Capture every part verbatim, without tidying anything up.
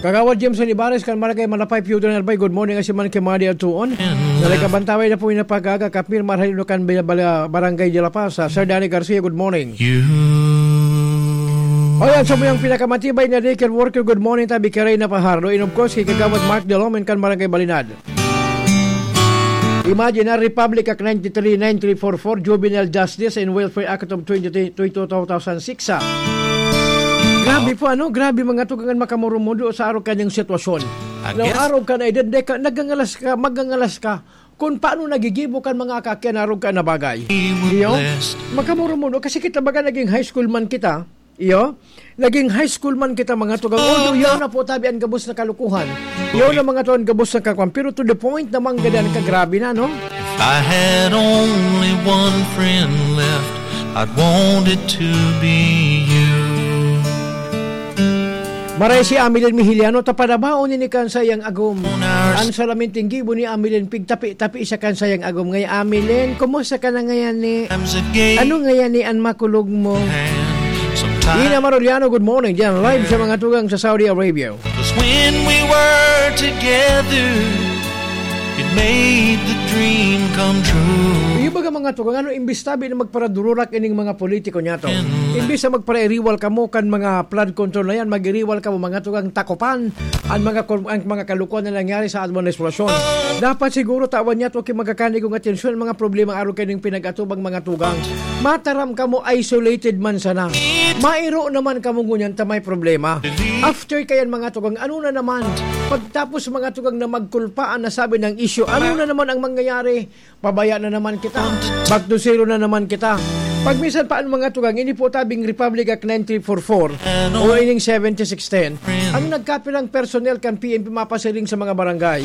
Kagawad Jameson Ibares kan Barangay Malapay, Pio Daniel Bay, good morning. Asin man ki Madi Atuon. Nalagabantaway na po yung napagaga, Kapir Marhalino kan Bala-, Bala-, Barangay de La Paz. Ah, Sir Danny Garcia, good morning. You. O yan, sa muyang pinakamatibay na daycare worker, good morning, tabi kay Reyna Fajardo. And of course, kay Kagawad Mark Delomen kan Barangay Balinad. Imagine, ah, Republic Act ninety-three, nine three four four, Juvenile Justice and Welfare Act of twenty, twenty, two thousand six, ah. Grabe po, ano? Grabe, mga tugang, an makamurumudo sa arog kanyang sitwasyon. I Na guess arog ka na edad, deka, nagangalas ka, magangalas ka. Kung paano nagigibo kan mga kaakian arog ka na bagay. Iyo? Makamurumudo, kasi kita baga naging high school man kita. Iyo? Naging high school man kita, mga tugang. Although, yaon na po tabi an gabos na kalukuhan. Yaon na, mga tugang, gabos na kakuan. Pero to the point naman, gadan ka, grabe na, no? If I had only one friend left, I'd want it to be you. Maray si Amilin Mihiliano, tapadabaon ni kan sayang agom. An salaminting gibo ni Amilin, pigtapi-tapi siya kan sayang agom. Ngay, Amilin, kumusta ka na ngayon ni? Ano ngayon ni an makulog mo? Ina Maroliano, good morning. Diyan, live sa mga tugang sa Saudi Arabia. 'Cause when we were together, it made the dream come true. Yung baga mga tugang, ano, imbis tabi na magparadururak ining mga politiko niya to. Imbis na magparairiwal kamo kan mga flood control na yan, mag-iriwal kamo mga tugang takopan ang mga kol-, ang mga kalukuhan na nangyari sa administrasyon. Dapat siguro tawan niya to ki magkakanigong atensyon ang mga problema arog kaning pinag-atubang mga tugang. Mataram kamo, isolated man sana. Mairo naman kamo ngunyan ta may problema. After kayan mga tugang, ano na naman? Pagtapos mga tugang na magkulpaan na sabi ng isyu, ano na naman ang mangyayari? Pabaya na naman kita. Back to zero na naman kita. Pag minsan pa ang mga tugang, ini po tabing Republic Act nine three four four o ining seventy-six ten, ang nagkapilang personnel kan P N P mapasiring sa mga barangay.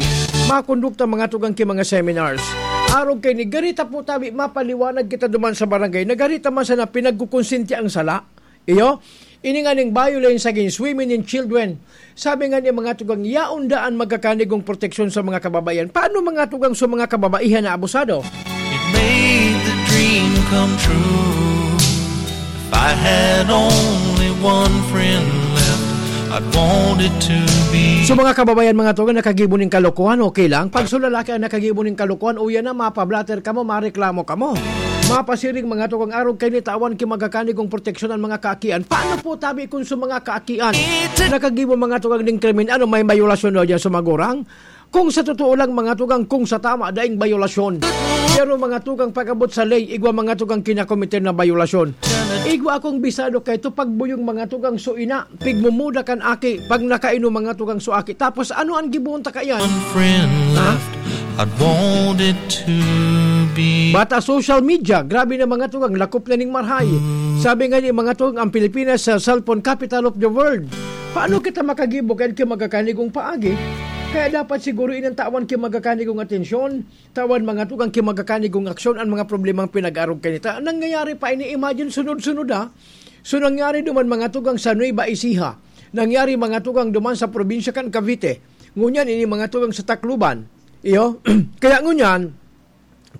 Makondukta mga tugang ki mga seminars. Arog kay ni garita po tabi, mapaliwanag kita duman sa barangay. Nagarita man sana pinagkukonsinti ang sala. Iyo, ini nga ning violence against women and children. Sabi nga ni mga tugang, yaon daan magkakanigong proteksyon sa mga kababaihan. Paano mga tugang sa mga kababaihan na abusado? It made the dream come true. If I had only one friend left, I'd want it to be. So, mga kababayan, mga tugang, nakagibo ning kalokohan, okay lang. Pag sa lalaki ang nakagibo ning kalokohan, uya na, mapablatter kamo, mareklamo kamo. Mapasiring, mga tugang, arog kay ni tawan ki magkakanigong proteksyon ang mga kaakian. Paano po tabi kung sa mga kaakian nakagibo, mga tugang, ning krimen? Ano, may bayolasyon daw diyan sa magurang? Kung sa totoo lang, mga tugang, kung sa tama, daing bayolasyon. Pero, mga tugang, pag-abot sa ley, igwa, mga tugang, kinakomiter na bayolasyon. Igwa akong bisado kay ito pagbuyong, mga tugang, so ina, pigmumuda kan aki, pag nakainom, mga tugang, so aki. Tapos, ano ang gibuon ta kaiyan? One friend Ha? left, I'd want it to be. Bata social media, grabe na, mga tugang, lakop na ning marhay. Sabi nga ni, mga tugang, ang Pilipinas sa cellphone capital of the world. Paano kita makagibo kay ki magkakanigong paagi? Kaya dapat siguro inantawan ki magkakanigong atensyon, tawan mga tugang ki magkakanigong aksyon ang mga problemang pinag-arog kanita. Nangyayari pa ini, imagine, sunod-sunod, ha? So, nangyari duman mga tugang sa Nueva Ecija. Nangyari mga tugang duman sa probinsya kan Cavite. Ngunyan, ini mga tugang sa Tacloban. Iyo? Kaya ngunyan,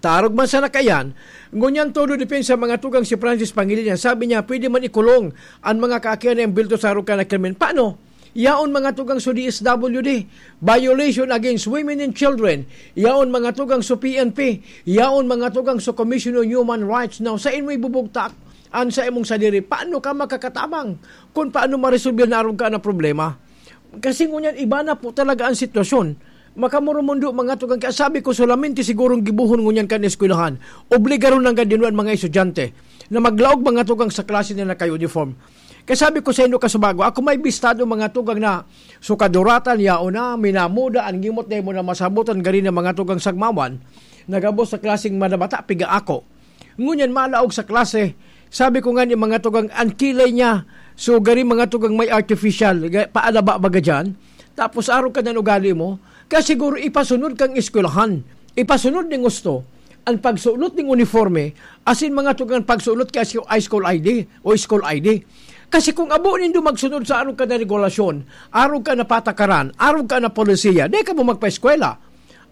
tarog man sana kaiyan, ngunyan todo depensa mga tugang si Francis Pangilinan. Sabi niya, pwede man ikulong ang mga kaakian na embulto sa arog kan na krimen. Paano? Yaon mga tugang sa D S W D, violation against women and children. Yaon mga tugang sa P N P. Yaon mga tugang sa Commission on Human Rights. Now, sa imo ibubugtak, an sa imong sadiri, paano ka makakatabang kung paano maresolbe na arog ka na problema? Kasi ngunyan, iba na po talaga ang sitwasyon. Makamurumundo mga tugang, kaya sabi ko, solamente sigurong gibuhon ngunyan kan eskwelahan. Obligaron lang gad dinwan mga estudyante na maglaog mga tugang sa klase na naka-uniform. Kaya sabi ko sa inyo, kasubago, ako may bistado mga tugang na sukaduratan, yaon na, minamuda, ang gimot na imo na masabutan, gari na mga tugang sagmawan, nagabos sa klaseng manabata, piga ako. Ngunyan, malaog sa klase. Sabi ko nga ni mga tugang, ang kilay niya, so gari mga tugang may artificial, ga-, paalaba baga dyan. Tapos arog ka na ugali mo, kaya siguro ipasunod kang eskwelahan, ipasunod ning gusto, ang pagsulot ning uniforme, asin mga tugang pagsulot kay high school I D o school I D. Kasi kung abo nindo magsunod sa arog ka na regulasyon, arog ka na patakaran, arog ka na polisiya, di ka mo magpa-eskwela.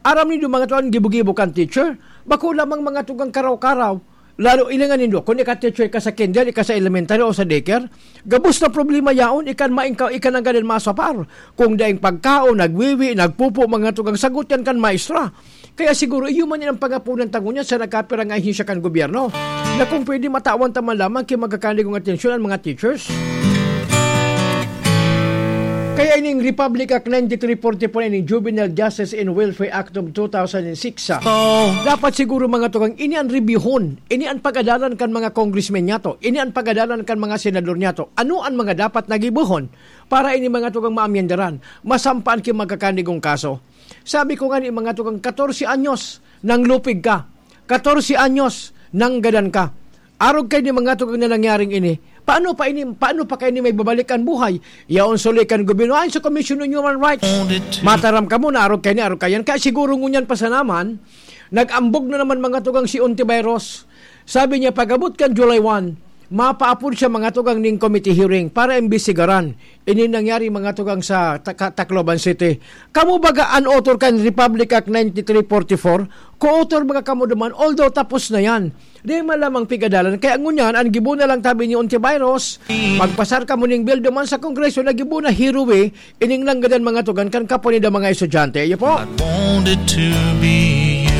Aram nindo mga tugang gibo-gibo kan teacher, bako lamang mga tugang karaw-karaw, Lalo, ilingan nindo, kung ika-teacher ka sa kinder, ika sa elementary o sa daycare, gabos na problema yaon, ikan maingkaw, ikan ang gadan masapar. Kung daing pagkaon, nagwiwi, nagpupo, mga tugang sagot yan kan maestra. Kaya siguro, iyo man yan ang pangapunan ta ngunyan sa nagkapirang ahensya kan gobyerno, na kung pwede, matawan ta man lamang ki magkakanigong atensyon ang mga teachers. Kaya ining Republic Act ninety-three forty-four, ining Juvenile Justice and Welfare Act of two thousand six, ah, dapat siguro, mga tugang, ini an rebyuhon, ini an pag-adalan kan mga congressmen niyato, ini an pag-adalan kan mga senador niyato. Ano an mga dapat na gibohon para ini, mga tugang, maamyendaran, masampaan ki magkakanigong kaso? Sabi ko nga ni, mga tugang, katorse anyos nang lupig ka, katorse anyos nang gadan ka. Arog kay ni, mga tugang, na nangyaring ini, paano pa ini, paano pa kay ni may babalik an buhay? Yaon suli kan gobyerno, ayon sa Commission on Human Rights. Mataram kamo na arog kay ni, arog kayan. Kaya siguro ngunyan pa sana man, nag-ambog na naman, mga tugang, si Ontiveros. Sabi niya, pag-abot kan July one, mapaapod siya, mga tugang, ning committee hearing para imbestigaran ini nangyari, mga tugang, sa Taka-, Tacloban City. Kamo baga an author kan Republic Act ninety-three forty-four? Co-author baga kamo duman, although tapos na yan. Di man lamang pigadalan. Kaya ngunyan, an gibo na lang tabi ni Ontiveros, magpasar kamo ning bill duman sa Kongreso na gibo na hiruwi, ining nanggadan, mga tugang, kan kapwa ninda mga estudyante. Iyo po. I wanted to be you.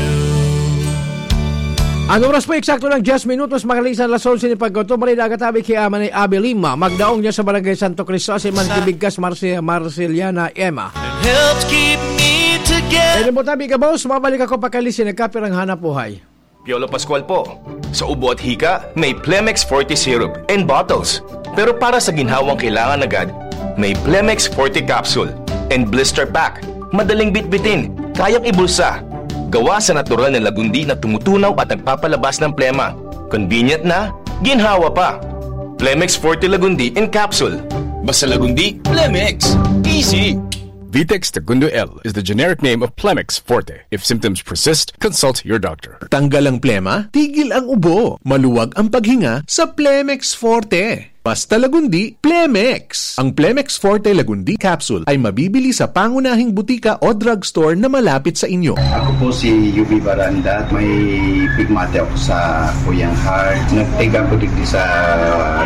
An oras po, eksakto ng diyes minutos, makalisan alas onse ni pagkauto, marida agatabi ki Ama ni Abelima, magdaong niya sa Barangay Santo Cristo, si Manti Bigkas, Marci-, Marceliana Emma. Helped keep me together. Pwede mo tabi ka, boss, mabalik ako pakalisin, nagkapirang hanap buhay. Piolo Pascual po. Sa ubo at hika, may Plemex Forte Syrup and bottles. Pero para sa ginhawang kailangan agad, may Plemex Forte Capsule and Blister Pack. Madaling bitbitin, kayang ibulsa. Gawa sa natural na lagundi na tumutunaw at nagpapalabas ng plema. Convenient na, ginhawa pa. Plemex Forte Lagundi in Capsule. Basta Lagundi, Plemex. Easy! Vitex Tagundo L is the generic name of Plemex Forte. If symptoms persist, consult your doctor. Tanggal ang plema, tigil ang ubo. Maluwag ang paghinga sa Plemex Forte. Basta Lagundi, Plemex. Ang Plemex Forte Lagundi Capsule ay mabibili sa pangunahing butika o drugstore na malapit sa inyo. Ako po si Yubi Baranda. May pigmate ako sa kuyang heart. Nag-take ako digdi sa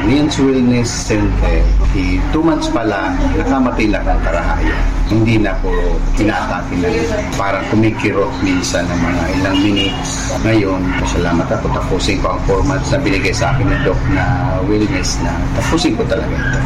Lian's Wellness Center. Di two months pa lang, nakamatay na ang karahayan. Hindi na po pinatake na rin. Parang kumikirot minsan ng mga ilang minutes. Ngayon, pasalamat ako. Tapusin ko ang four months na binigay sa akin ng doc na wellness na tapusin ko talaga ito.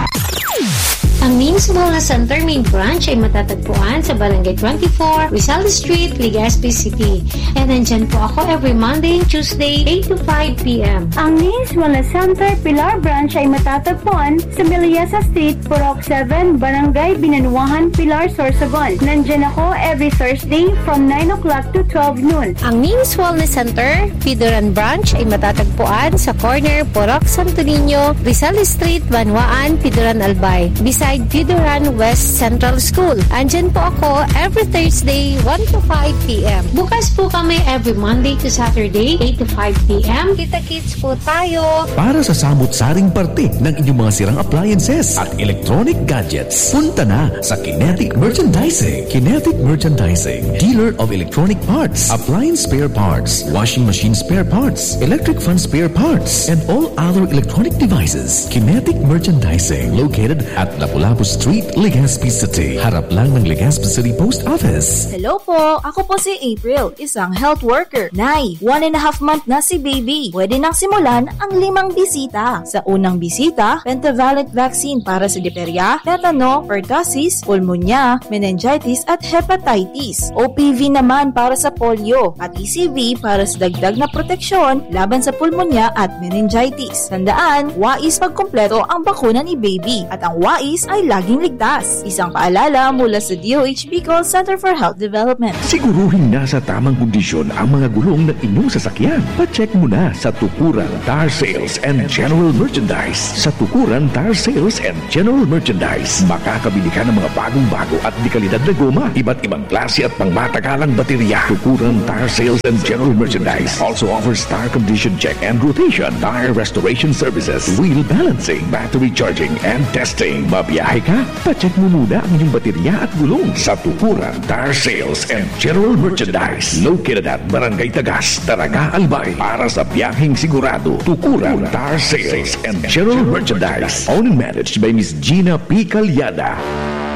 Ang Names Wellness Center main branch ay matatagpuan sa Barangay twenty-four, Rizal Street, Legazpi City. And nandyan po ako every Monday and Tuesday, eight to five p m. Ang Names Wellness Center Pilar Branch ay matatagpuan sa Meliasa Street, Purok seven, Barangay Binanuahan, Pilar, Sorsogon. Nandyan ako every Thursday from nine o'clock to twelve noon. Ang Names Wellness Center Pidoran Branch ay matatagpuan sa corner Purok Santo Niño, Rizal Street, Banwaan, Pidoran, Albay, beside Pidoran West Central School. Andyan po ako every Thursday, one to five p m. Bukas po kami every Monday to Saturday, eight to five p m. Kita-kits po tayo. Para sa samot-saring parte ng inyong mga sirang appliances at electronic gadgets, punta na sa Kinetic Merchandising. Kinetic Merchandising, dealer of electronic parts, appliance spare parts, washing machine spare parts, electric fan spare parts, and all other electronic devices. Kinetic Merchandising, located at Lapu-Lapu Street, Legazpi City, harap lang ng Legazpi City Post Office. Hello po! Ako po si April, isang health worker. Nay, one and a half month na si baby. Pwede nang simulan ang limang bisita. Sa unang bisita, pentavalent vaccine para sa diphtheria, tetano, pertussis, pulmonya, meningitis at hepatitis. O P V naman para sa polio at E C V para sa dagdag na proteksyon laban sa pulmonya at meningitis. Tandaan, wais pagkumpleto ang bakuna ni baby at ang wais ay laging ligtas. Isang paalala mula sa D O H Bicol Center for Health Development. Siguruhing nasa tamang kondisyon ang mga gulong ng inyong sasakyan. Pa-check muna sa Tukuran Tire Sales and General Merchandise. Sa Tukuran Tire Sales and General Merchandise, makakabili ka ng mga bagong-bago at dekalidad na goma, iba't ibang klase at pangmatagalang baterya. Tukuran Tire Sales and General Merchandise also offers tire condition check and rotation, tire restoration services, wheel balancing, battery charging and testing. Mabiyaya Biyahe ka? Pacheck mo muna ang iyong baterya at gulong sa Tukuran Tire Sales and General Merchandise, located at Barangay Tagas, Daraga, Albay. Para sa biyaheng sigurado, Tukuran Tire Sales and General Merchandise. Owned and managed by Miss Gina P. Calyada.